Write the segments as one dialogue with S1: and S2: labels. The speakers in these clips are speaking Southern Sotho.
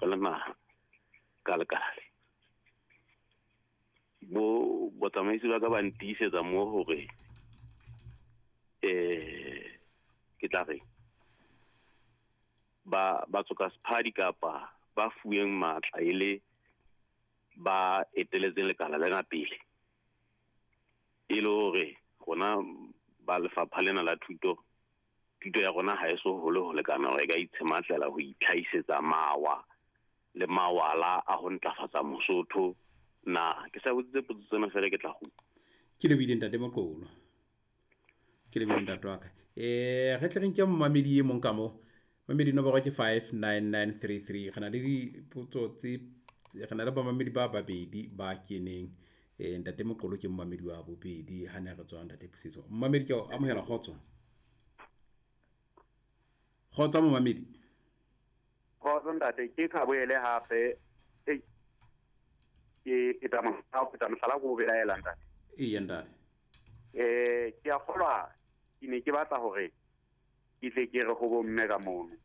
S1: Re le naha ka lekala le. Bo botsamaisi ba ka ba ntiisetsa mo hore ke tla reng ba ba tsoka sephadi kapa ba fuweng matla e le ba eteletseng lekala lena pele, e le hore rona ba lefapha lena la thuto, thuto ya rona ha e so hole ho lekana hore e ka itshematlela ho itlhahisetsa mawa le mawala a ho ntlafatsa Mosotho na. Ke sa botsitse potso tsena fela, ke tla kgutla.
S2: Ke lebohile ntate Moqolo, ke lebohile ntate wa ka. Re tle re nke momamedi e mong ka mo. Mamedi nomoro ke 59933. Re na le dipotso tse, re na le bamamedi ba babedi ba keneng. Ntate Moqolo ke momamedi wa bobedi ha ne re tswa ntate Pusetso. Momamedi ke o amohela, kgotso. Kgotso momamedi.
S3: Kgotso ntate, ke Khaboele hape. Ei, ke etsa mohlala, ho pheta mohlala ko o belaela ntate.
S2: Eya ntate.
S3: Ke a kgolwa ke ne ke batla hore ke tle ke re ho bomme ka mono.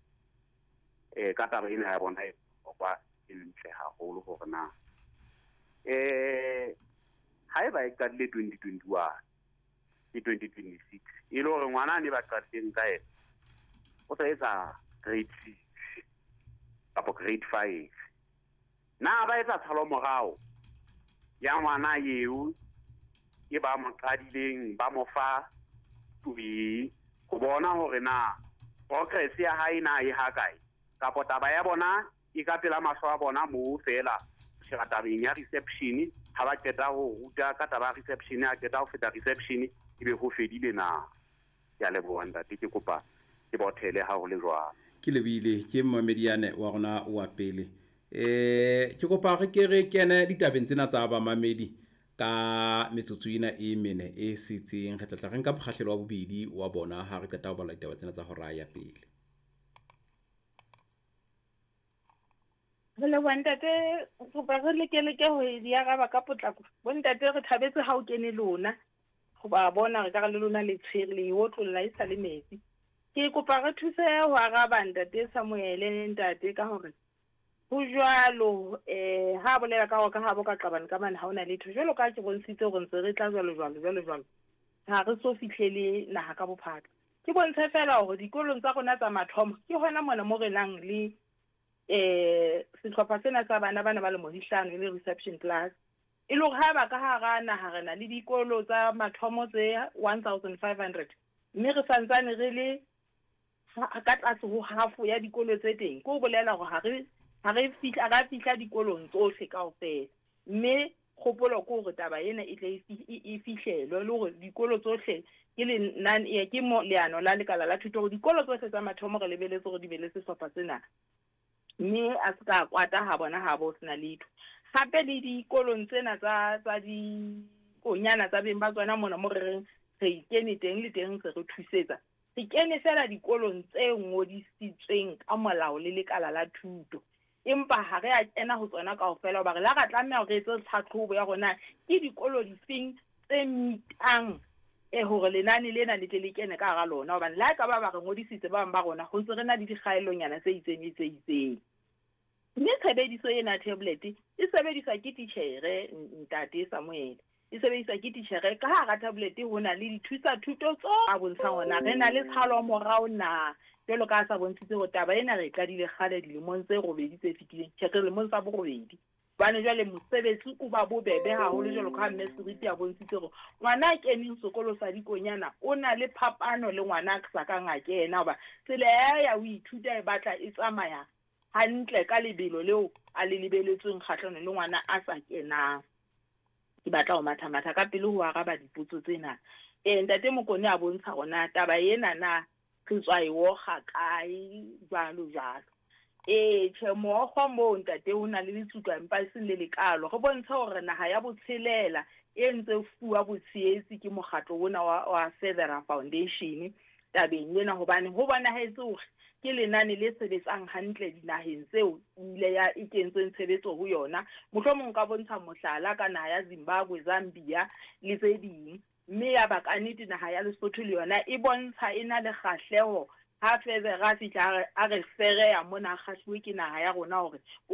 S3: Ka taba ena ya bona e bohlokwa, e ntle haholo hore na haeba e qadile 2021 ke 2026, e le hore ngwana a ne ba qadileng ka yena o sa etsa grade 6 kapa grade 5, na ba etsa tshalo morao ya ngwana eo e ba mo qadileng ba mo fa twe ho bona hore na progress ya hae na e ha kae, kapa taba ya bona e ka pela mahlo a bona moo fela sheba tabeng ya reception, ha ba qeta ho ruta ka taba ya reception, a qeta ho feta reception ebe ho fedile na? Ke a leboha ntate, ke kopa ke bothele ha ho le jwalo.
S2: Ke lebohile, ke momamedi yane wa rona wa pele. Ke kopa re ke re kene ditabeng tsena tsa bamamedi ka metsotso ena e mene e setseng. Re tla tla re nka mokgahlelo wa bobedi wa bona ha re qeta ho bala ditaba tsena tsa hora ya pele.
S4: Re leboha ntate, kopa re leke ho di araba ka potlako. Bo ntate re thabetse ha o kene lona, hoba bona re ka re le lona le tshwere le otlolla e sa le metsi. Ke kopa re thuse ho araba ntate Samuele ntate ka hore ho jwalo, ha bolela ka hore ka habo ka qabane ka mane ha hona letho. Jwalo ka ke bontshitse hore ntse re tla jwalo jwalo jwalo jwalo, ha re so fihlele naha ka bophara. Ke bontshe fela hore dikolong tsa rona tsa mathomo ke hona mona mo re nang le sehlopha sena sa bana bana ba lemo di hlano e le reception class. E le hore ha ba ka hara naha re na le dikolo tsa mathomo tse 1500, mme re santsane re le ka tlase ho half ya dikolo tse teng. Ke ho bolela hore ha re fihla, ra fihla dikolong tsohle kaofela, mme kgopolo ke hore taba ena e tle e fihlelwe, le hore dikolo tsohle ke lenane, ke mo leano la lekala la thuto hore dikolo tsohle tsa mathomo re lebeletse hore di be le sehlopha sena, mme a se ka kwata ha bona ha bo sena letho. Hape le dikolong tsena tsa dikonyana tsa beng ba tsona mona mo re reng re kene teng le teng se re thusetsa, re kene fela dikolong tse ngodisitsweng ka molao le lekala la thuto, empa ha re a kena ho tsona kaofela hoba re la ra tlameha hore re etse tlhatlhobo ya rona ke dikolo difeng tse mitang hore lenane lena le tle le kene ka hara lona, hobane le ha e ka ba ba re ngodisitse ba bang ba rona ho ntse re na le dikgaellonyana tse itseng le tse itseng. Mme tshebediso ena tablet e sebediswa ke titjhere ntate Samuel, e sebediswa ke titjhere. Ka hara tablet ho na le dithusa thuto tso a bontshang hore na re na le tshalo morao na, jwalo ka ha sa bontshitse hore taba ena re e qadile kgale dilemong tse robedi tse fetileng, tjhe, re lemong tsa borobedi. Hobane jwale mosebetsi o ba bobebe haholo, jwalo ka ha mme Seripe a bontshitse hore ngwana a keneng sekolo sa dikonyana o na le phapano le ngwana a sa kang a kena, hoba tsela ya ho ithuta e batla e tsamaya hantle ka lebelo leo a le lebeletsweng kgahlano le ngwana a sa kenang. Ke batla ho matha-matha ka pele ho araba dipotso tsena. Ntate Mokone a bontsha rona taba ena na re tswa e okga kae jwalo jwalo. Tjhe, mookgo moo ntate ho na le letsuka empa e seng le lekalo. Re bontshe hore naha ya botshelela e ntse fuwa botshehetsi ke mokgatlo ona wa Federa Foundation tabeng ena, hobane ho bonahetse hore ke lenane le sebetsang hantle dinaheng tseo ile ya e kentsweng tshebetso ho yona. Mohlomong ka bontsha mohlala ka naha ya Zimbabwe, Zambia le tse ding, mme ya ba ka nnete naha ya Lesotho le yona e bontsha e na le kgahleho ha Federa a fihla a re fereya mona, a kgahluwe ke naha ya rona hore o